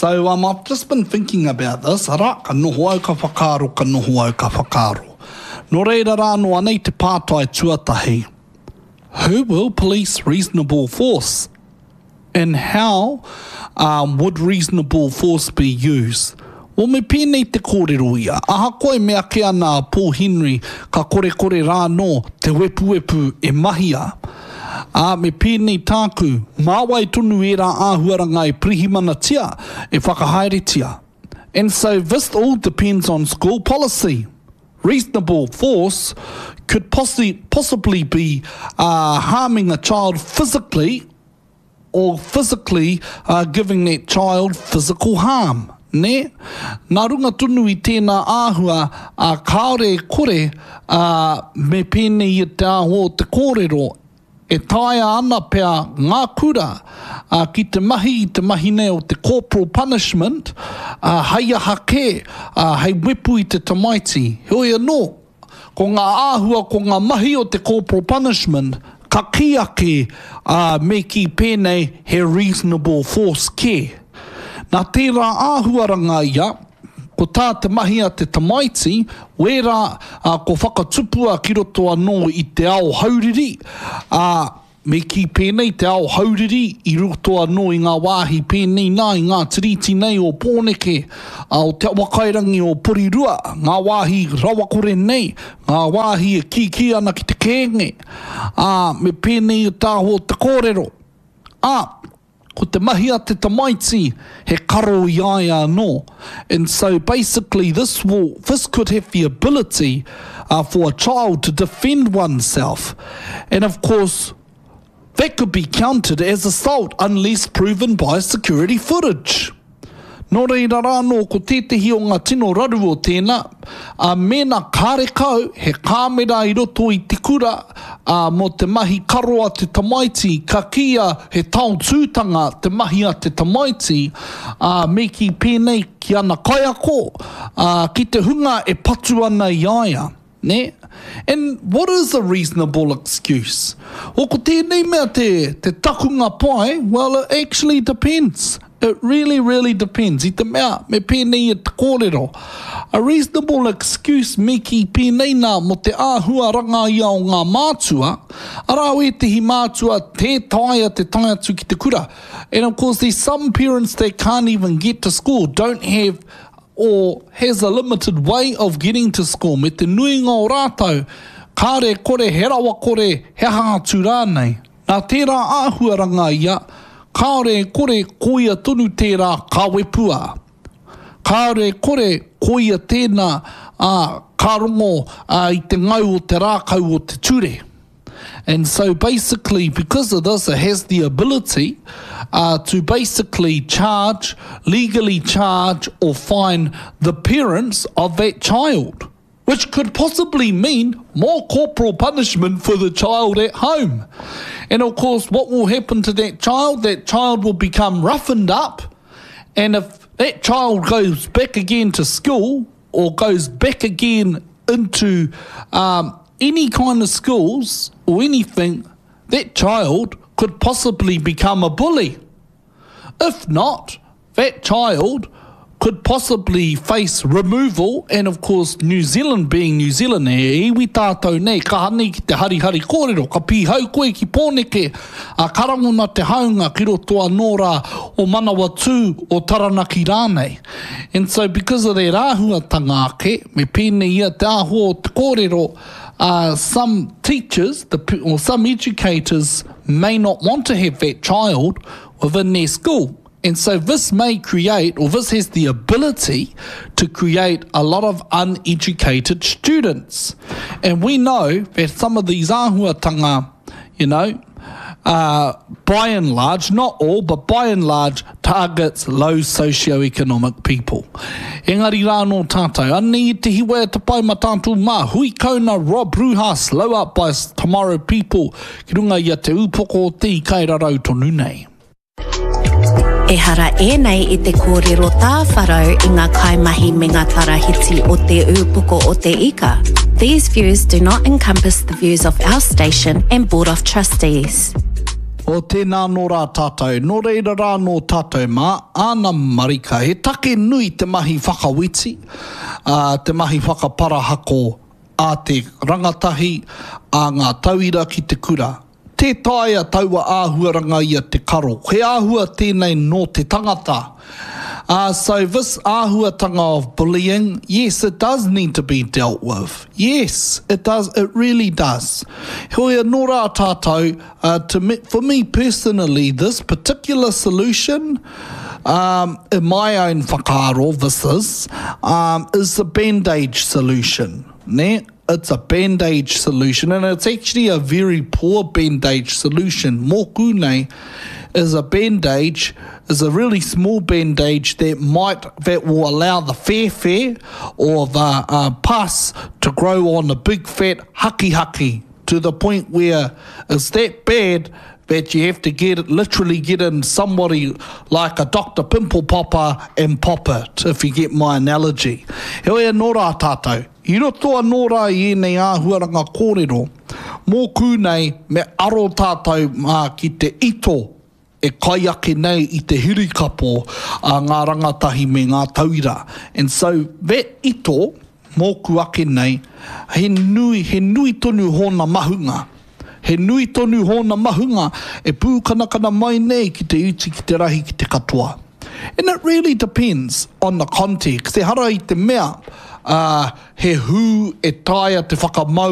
So um, I've just been thinking about this, arā, ka noho au ka whakaaro, ka noho au ka whakaaro. Nō reira rā anō anei te pātai tuatahi, Who will police reasonable force? And how um, would reasonable force be used? Well, me pēnei te kōrero ia. Ahakoa e mea ake ana a Paul Henry ka korekore rā anō te wepuwepu e mahia, ā, me pēnei tāku, mā wai tonu ērā āhuaranga e pirihimanatia, e whakahaeretia. And so this all depends on school policy. Reasonable force could possibly be uh, harming a child physically or physically uh, giving that child physical harm. Nē? Nā runga tonu i tēnā āhua, ā, kāore e kore, ā, me pēnei i te āhua o te kōrero, e taea ana pea ngā kura, ā, ki te mahi i te mahi nei o te corporal punishment, ā, hei aha kē, ā, hei wepu i te tamaiti. Heoi anō, Ko ngā āhua, ko ngā mahi o te corporal punishment, ka kī ake, ā, me kī pēnei, he reasonable force kē. Nā tērā āhuaranga ia, ko tā te mahi a te tamaiti, wērā, ā, ko whakatupua ki roto anō i te ao hauriri, ā, Me kī pēnei te ao hauriri i roto anō i ngā wāhi pēnei nā i ngā tiriti nei o Pōneke, ā, o Te Awakairangi o Porirua, ngā wāhi rawakore nei, ngā wāhi e kīkī ana ki te kēnge, ā, me pēnei i te aho o te kōrero. Ā, ko te mahi a te tamaiti he karo i a ia anō. And so basically this will, this could have the ability uh, for a child to defend oneself. And of course, that could be counted as assault unless proven by security footage. Nō reira rā anō ko tētehi o ngā tino raru o tēnā, ā, mēnā kārekau he kāmera i roto i te kura, ā, mō te mahi karo a te tamaiti, ka kīia he taotūtanga te mahi a te tamaiti, ā, me kī pēnei ki ana kaiako, ā, ki te hunga e patu ana i a ia. Nē? And what is a reasonable excuse? Well, ko tēnei mea te, te takunga pai, well, it actually depends. It really, really depends. I te mea, me pēnei i te kōrero. A reasonable excuse me kī pēnei nā mō te āhuaranga ia o ngā mātua, arā wētehi mātua tē taea te tae atu ki te kura. And of course there's some parents that can't even get to school, don't have or has a limited way of getting to school me te nuinga o rātou, kāre e kore he rawakore, he aha atu rānei. Nā tērā āhuaranga ia, kāore e kore koia tonu tērā ka wepua. Kāore e kore koia tēnā, ā, ka rongo i te ngau o te rākau o te ture. And so basically because of this it has the ability uh, to basically charge, legally charge or fine the parents of that child. Which could possibly mean more corporal punishment for the child at home. And of course, what will happen to that child? That child will become roughened up. And if that child goes back again to school or goes back again into um, any kind of schools or anything, that child could possibly become a bully. If not, that child could possibly face removal and of course New Zealand being New Zealand he iwi tātou nei kaha nei ki te harihari kōrero ka pīhau koe ki Pōneke a ka rangona te haunga ki roto anō rā o Manawatū o Taranaki rānei and so because of that āhuatanga ake me pēnei ia te āhua o te kōrero uh, some teachers the, or some educators may not want to have that child within their school And so this may create, or this has the ability to create a lot of uneducated students. And we know that some of these āhuatanga, you know, uh, by and large, not all, but by and large, targets low socioeconomic people. Engari rā nō tātou. Anei i te hiwa e te pai ma tātou mā. Hui kauna Rob Ruha, Slow Up by Tomorrow People, ki runga i a Te Ūpoko o te Ika e rarau tonu nei. Ehara ēnei i te kōrero tāwharau i ngā kaimahi me ngā tarahiti o Te Ūpoko o te Ika. These views do not encompass the views of our station and Board of Trustees. O tēnā anō rā tātou, nō reira rā anō tātou mā, āna marika, he take nui te mahi whakaweti, ā, te mahi whakaparahako a te rangatahi, a ngā tauira ki te kura. Tē taea taua āhuaranga ia te karo. He āhua tēnei nō te tangata. Ā, so this āhuatanga of bullying, yes, it does need to be dealt with. Yes, it does, it really does. Heoi anō rā tātou, uh, to me, for me personally, this particular solution, um, in my own whakaaro, this is, um, is the bandage solution. Nē? It's a bandage solution, and it's actually a very poor bandage solution. Mōku nei is a bandage, is a really small bandage that might, that will allow the whēwhē or the uh, pus to grow on a big fat haki to the point where it's that bad that you have to get literally get in somebody like a Doctor Pimple Popper and pop it, if you get my analogy. Heoi anō rā tātou, i roto anō rā i ēnei āhuaranga kōrero, mōku nei me aro tātou mā ki te ito e kai ake nei i te hirikapo a ngā rangatahi me ngā tauira. And so that ito, mōku ake nei, he nui, he nui tonu hōna mahunga. He nui tonu hōna mahunga e pūkanakana mai nei ki te iti, ki te rahi, ki te katoa. And it really depends on the context. Ehara i te mea, ā, he hū e taea te whakamau.